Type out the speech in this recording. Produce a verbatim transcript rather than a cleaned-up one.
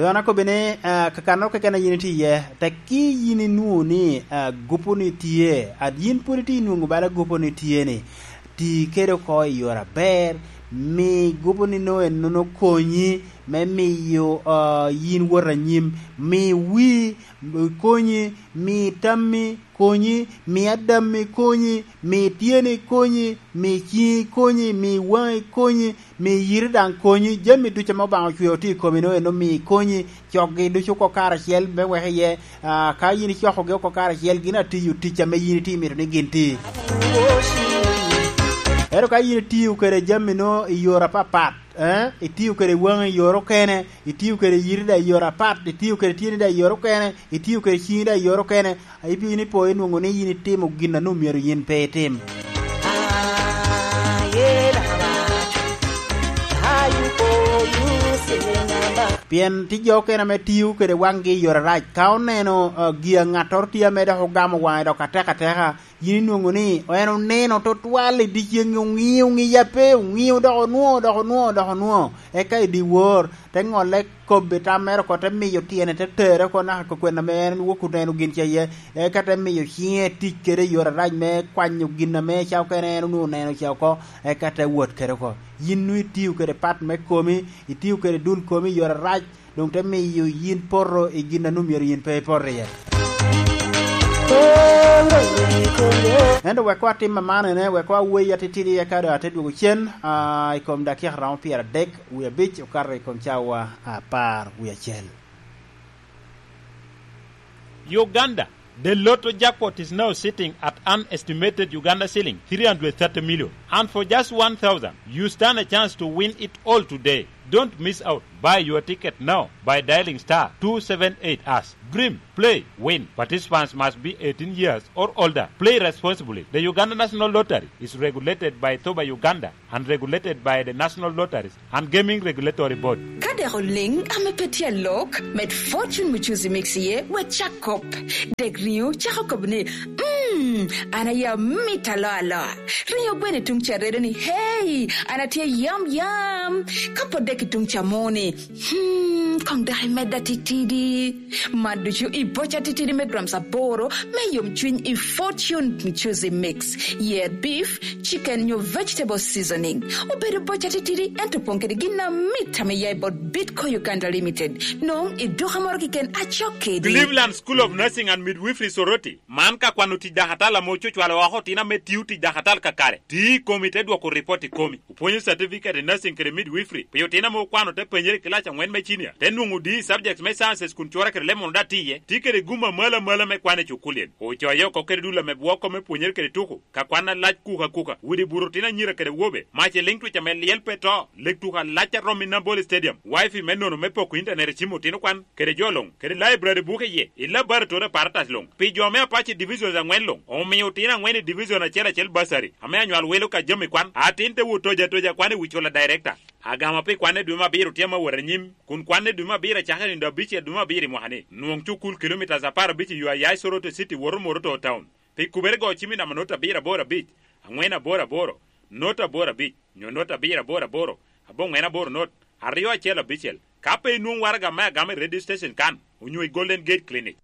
Doŋ an akobbi ni, ah, kakannoro keken a yin itye iye, tekki yin inwoŋo ni, ah, gupu-ni tye, a yin pwod itye nwoŋo bala gupu-ni tye-ni, ti kede oko i yore aber, mi gupu-ni nwoŋo ennono konyi me miyo, ah, yin wot anyim, mi wi konyi, mi tammi konyi, mi adammi konyi, mi tyeni konyi, mi ciŋi konyi, mi waŋi konyi, mi yiri daŋ konyi, jami ducu ame Obaŋa ocweo tye i komi, nwoŋo en omio konyi, cokgi ducu oko karacel, me wek iye, ah, ka yin icokogi oko karacel, gin atiyo tic ame yin itye mito ni gin ti. Ento ka yin itiyo kede jami-no i yore apapat, eh, itiyo kede waŋi i yore okene, itiyo kede yiri daŋ i yore apat, itiyo kede tyeni daŋ i yore okene, itiyo kede ciŋi daŋ i yore okene, a ibino ipo inwoŋo ni yin itimo gin a nwoŋo myero yin pe itim. Pien tye jo okene ame tiyo kede waŋgi i yore arac. Ka oneno, ah, gin a ŋattoro tye ame dok ogamo waŋe dok atek ateka, yin inwoŋo ni en oneno tutwal i dyeceŋ, oŋio ŋiya pe, oŋio dok onwoŋo, dok onwoŋo, dok onwoŋo. Eka i dyewor, te ŋolle kobbe tam mere oko, te miyo tyene, te tere oko naka ka kwena ame en wok oneno gin ca iye, eka te miyo ciŋe tic kede i yore arac me kwanyo gin ame ca okene en onwoŋo oneno ca oko, eka te wot kede oko. Yin nwoŋo itio kede pat me komi, itio kede dul komi i yore arac, doŋ te miyo yin poto i gin a nwoŋo myero yin pe ipoto iye. Ento wek atim amanene, wek awei atitidi, eka doŋ ate dwogo cen, ah, i kom dakika romo pyeradek wie abic okato i kom cawa apar wie acel. Uganda, the Lotto jackpot is now sitting at an estimated Uganda shilling three hundred thirty million. And for just one thousand, you stand a chance to win it all today. Don't miss out. Buy your ticket now by dialing star two seven eight hash. Dream, play, win. Participants must be eighteen years or older. Play responsibly. The Uganda National Lottery is regulated by Thoba Uganda and regulated by the National Lotteries and Gaming Regulatory Board. Ka dek oliŋ ame pe tye alok, med Fortune Muchuzi Mix iye, wek cak kop. Dek riŋo cako kop ni, "Mm, an aye amit aloa aloa." Riŋo gweno i tuŋ ca redo ni, "Hey, an atye yam yam." Ka pot dek i tuŋ ca mo ni, "Hmm, kong dok imedda titidi." Man ducu i boca titidi me grams aboro me yomcwiny i Fortune Muchuzi Mix. Yer beef, chicken nyo vegetable seasoning. Obedo boca titidi, ento opoŋ kede gin amit ame ya i bot Bitco Uganda Limited. Nong i duka moro keken acok kedi. Cleveland School of Nursing and Midwifery Soroti. Man ka kwano tic dakatal ame ococwalo oko otino ame tio tic dakatal kakare. Ti i komi te dwoko ripot i komi. Opwonyo certificate i nursing kede midwifery pi otino ame okwano te penyere i kilac angwen me cinia, te nwoŋo D i subjects me sciences kun cura kede lemon daŋ tye iye. Tye kede gum amalo amalo me kwan i cukulien. Ocoye oko kede dul ame bwoko me pwonyere kede tuko, ka kwan alac kuka kuka, widi buto otino anyira kede wobe, mac i liŋ twic ame lyel pe to, lek tuko alac a romo i Nambole Stadium, wifi me nono me poko intanet i cim otino kwan, kede jo luŋ, kede library buke iye, i laboratory apparatus luŋ. Pi jo me Apache Divisions angwen luŋ, omio otino angwen i division acel acel bursary, ame anywal welo ka jami kwan. Atin te wot toja toja kwan i wi cula director. Agama pi kwan i dwe me abiro tye ame wot anyim, kun kwan i dwe me abiro acakere nino abicel dwe me abiro i mwaka ni. Nwong cukul kilomitas apar abic i yo a ya i Soroti City woto Moroto Town. Pi kubere go cim i namba not abiro aboro abic, angwen aboro aboro, not aboro abic, nyo not abiro aboro aboro, aboŋwen aboro not, aryo acel abicel. Ka pe inwoŋo waraga me agama i radio station kan, onyo i Golden Gate Clinic.